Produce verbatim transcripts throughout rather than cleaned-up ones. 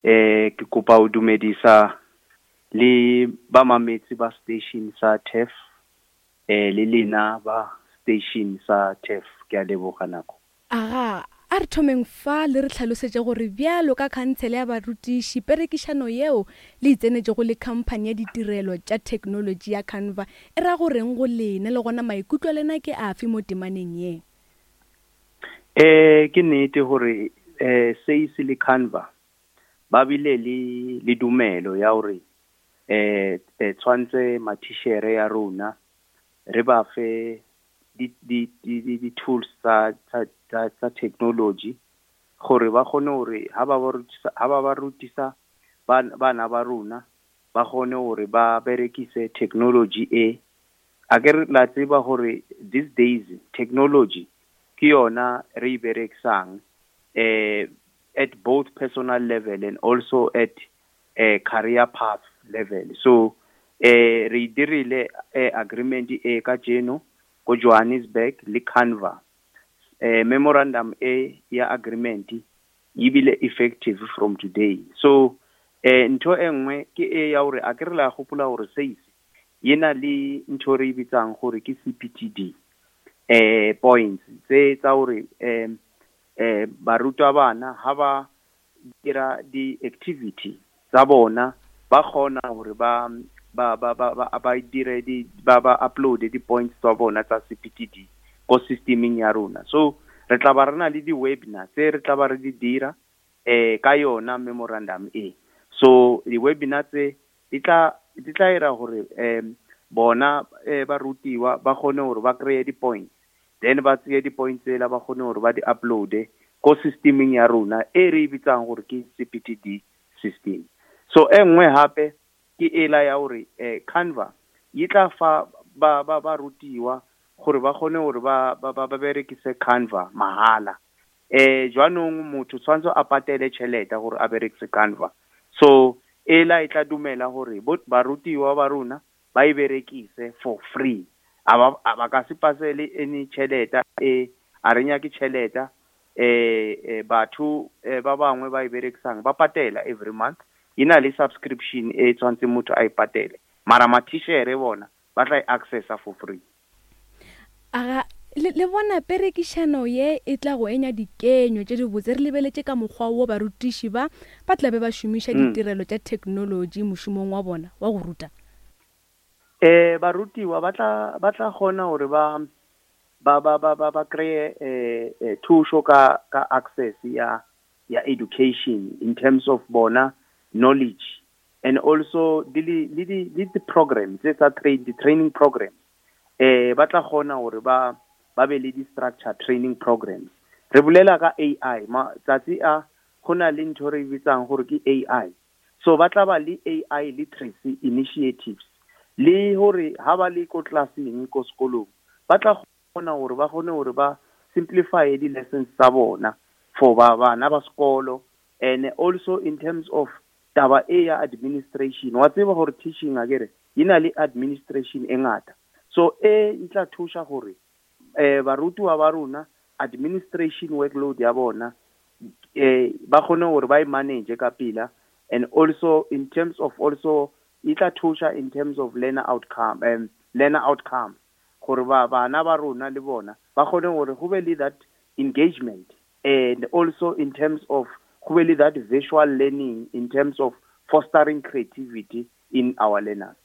Eh ke kopa ho dumedisa le ba mametse ba station sa T E F, eh le lena ba station sa T E F, ke a leboga nako. Aga, a re thomeng fa le re hlalosetše gore bjalo ka khansele ya barutiši perekišano yeo le e tsenetšego le khamphani ya ditirelo tša theknolotši ya Canva e ra go reng go lena le gona maikutlo a lena ke afe mo temaneng ye? Eh ke nnete gore eh S A I C le Canva ba bile le le dumelo ya hore eh eh tshwantse matitjhere ya rona re ba fe di di di di di tools tsa tsa tsa tsa technology gore ba kgone hore ha ba ba rutisa ha ba ba rutisa bana ba rona, ba kgone hore ba berekise technology e. Akere la tseba hore these days technology ke yona re e berekisang eh at both personal level and also at uh, career path level. So eh re dirile eh, agreement e kajeno ko Johannesburg le Canva. eh memorandum e ya agreement e bile effective from today. So eh ntho e nngwe ke e ya hore a ke re la gopola hore S A I C yena le ntho re e bitsang gore ke C P T D eh points tse tsa hore eh eh barutabana ha ba dira di-activity tsa bona, ba kgona hore ba ba ba ba ba ba dire di ba ba upload di-points tsa bona tsa C P T D ko systemeng ya rona. So re tla ba re na le di-webinar tse re tla ba re di dira eh ka yona memorandum e. So di-webinar tse di tla di tla ira hore um bona eh, ba rutiwa ba kgone hore ba kry-e di-points, then ba tseye di-points tsela, ba kgone hore ba di upload-e ko systemeng ya rona e re e bitsang gore ke C P T D system. So e nngwe hape ke ela ya hore eh Canva e tla fa ba ba ba rutiwa gore ba kgone hore ba ba ba berekise Canva mahala. eh jwanong motho tshwantse a patele tjhelete gore a berekise Canva. So ela e tla dumela hore barutiwa ba rona ba e berekise for free. A ba ka se pasele any tjhelete e, a re nyake tjhelete. eh eh batho ba bangwe ba e berekisang ba patela every month, e na le subscription e tshwantseng motho a e patele, mara matitjhere bona ba tla e accessa for free. Aga, le, le bona perekišano ye e tla go enya dikenyo tše dibotse re lebeletše ka mokgwa wo barutiši ba ba tla be ba šomiša mm. ditirelo tša theknolotši mošomong wa bona wa go ruta? Eh barutiwa ba tla ba tla kgona hore ba ba ba ba ba ba kry eh, eh thušo ka ka access ya ya education in terms of bona knowledge and also le le di le di programs tse tsa train di training programs. eh ba tla kgona hore ba ba be le di structure training programs. Re bolela ka A I matsatsi a, go na le ntho re e bitsang gore ke A I. So ba tla ba le A I literacy initiatives, le hore ha ba le ko classeng, ko sekolong, ba tla kgona hore ba kgone hore ba simplify di-lessons tsa bona for ba bana ba sekolo. And also in terms of taba e ya administration, wa tseba gore teaching akere e na le administration e ngata. So e e tla thuša gore eh barutiwa ba rona administration workload ya bona eh ba kgone hore ba e manage ka pela. And also in terms of also e tla thuša in terms of learner outcome um learner outcomes, gore ba bana ba rona le bona ba kgone gore go be le that engagement, and also in terms of go be le that visual learning in terms of fostering creativity in our learners.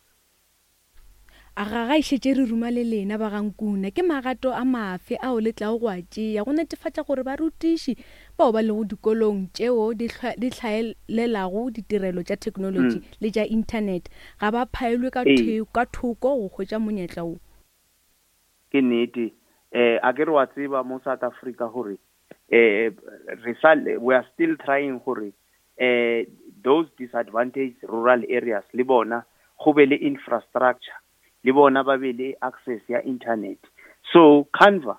Aga, ga e šetše re ruma le lena ba gankuna, ke magato a mafe ao le tlago go a tšea go netefatša gore barutiši bao ba lego dikolong tšeo di hlaelelago ditirelo tša theknolotši mm. le tša internet ga ba phaelwe ka, Ee. ka thoko go hwetša monyetla wo? Ke nnete. eh a ke re wa tseba mo South Africa gore eh re sa we are still trying gore eh those disadvantaged rural areas le bona go be le infrastructure, le bona ba be le access ya internet. So Canva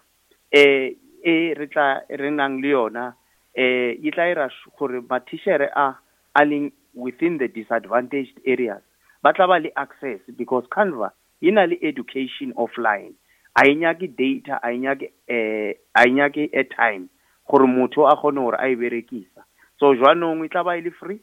eh e re tla re nang le yona eh e tla ira gore matitjhere a a leng within the disadvantaged areas ba tla ba le access, because Canva e na le education offline, a e nyake data, a e nyake eh a e nyake airtime gore motho a kgone gore a e berekisa. So jwanong e tla ba e le free.